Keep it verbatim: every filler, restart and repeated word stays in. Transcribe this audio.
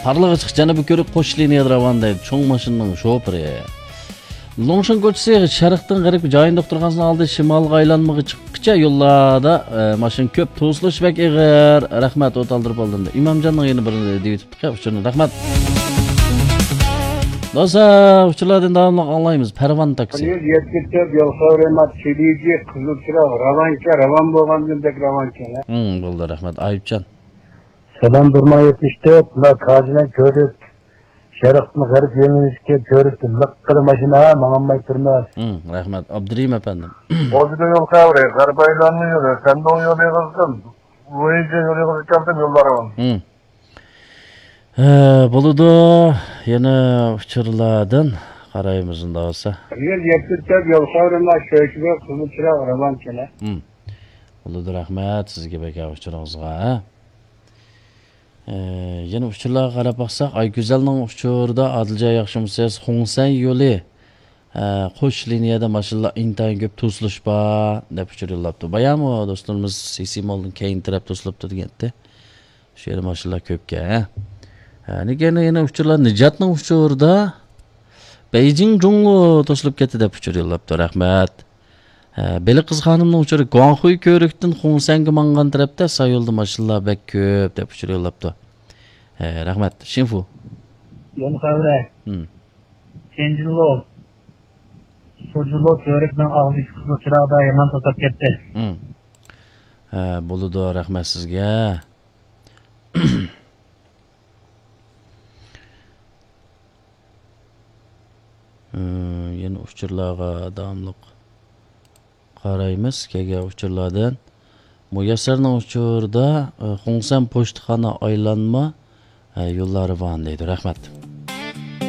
قارلىغاچ جەنۇبىي كۆۋرۈك قوش لىنىيەدە راۋان دەيدۇ، چوڭ ماشىنىنىڭ شوپۇرى. لۇڭشىن كوچىسى شەرقتىن غەربكە جايىن دوختۇرخانىسىنىڭ ئالدى شىمالغا ئايلانمىغا چىققىچە يوللاردا، ئە، ماشىنا كۆپ، توسۇلۇش بەك ئېغىر. رەھمەت، ئوت ئالدۇرۇپ ئالدىم. ئىمامجاننىڭ يەنە بىرىنى دېيىۋېتىپتىكەن، ئۇچۇرنى. رەھمەت. دوستلار، ئۇچۇرلاردىن داۋاملىق ئاڭلايمىز. پەرۋان تاكسى. يول يەتكۈچە يول خەۋىرى، چىلىجى، قىزىل چىراغ، راۋانكەن، راۋان بولغاندىن بەك راۋانكەن. ھىم، بولدى، رەھمەت. ئايۇپجان. سالام، بىر مىڭ يەتمىش تۆت، مانا كاجىنىڭ كۆۋرۈك، شەرقتىن غەرب يۆنىلىشكە كۆۋرۈكتە لىققىدە ماشىنا، ماڭالماي تۇرماس. ھىم، رەھمەت، ئابدۇرېھىم ئەپەندىم. بولدى يول خەۋىرى، غەرب ئايلانما يولى، سەندۇڭ يولى قىزغىن، ۋېيجې يولى قىزىپ كەلدىم، يوللار راۋان. ھىم. ھە، بولىدۇ، يەنە ئۇچۇرلاردىن قارايمىز ئۇنداق بولسا. يول يەتكۈچە يول خەۋىرى، چۆچۈرە، قىزىل چىراغ، راۋانكەن. ھىم. بولىدۇ، رەھمەت سىزگە بەك ئۇچۇرىڭىزغا. ئە، يەنە ئۇچۇرلارغا قاراپ باقساق، ئايگۈزەلنىڭ ئۇچۇرىدا، ئادىلجان ياخشىمۇسىز؟ خۇڭسەن يولى، ئە، قوش لىنىيەدە ماشىنىلار ئىنتايىن كۆپ، توسۇلۇش بار، دەپ ئۇچۇر يوللاپتۇ. بايامۇ دوستلىرىمىز سىسىمولدىن كەينى تەرەپ توسۇلۇپتۇ دېگەنتى. شۇ يەردە ماشىنىلار كۆپكەن. ھە، لېكىن يەنە ئۇچۇرلار، نىجاتنىڭ ئۇچۇرىدا بېيجىڭ جۇڭلو توسۇلۇپ كەتتى، دەپ ئۇچۇر يوللاپتۇ. رەھمەت. ھە، بېلىق قىز خانىمنىڭ ئۇچۇرى، گۇاڭخۇي كۆۋرۈكتىن خۇڭسەنگە ماڭغان تەرەپتە سايولدا ماشىنىلار بەك كۆپ، دەپ ئۇچۇر يوللاپتۇ. ھە، رەھمەت. شىنفۇ. يول خەۋىرى. ھىم. چېنجىنلو، سۇجۇلو كۆۋرۈكنىڭ ئاغزىدىكى قىزىل چىراغدا يامان توسۇپ كەتتى. ھىم. ھە، بولىدۇ، رەھمەت سىزگە. ھە، يەنە ئۇچۇرلارغا داۋاملىق قارايمىز، كەلگەن ئۇچۇرلاردىن. مۇيەسسەرنىڭ ئۇچۇرىدا، ئە، خۇڭسەن پوچتىخانا ئايلانما، ئە، يوللار راۋان دەيدۇ. رەھمەت.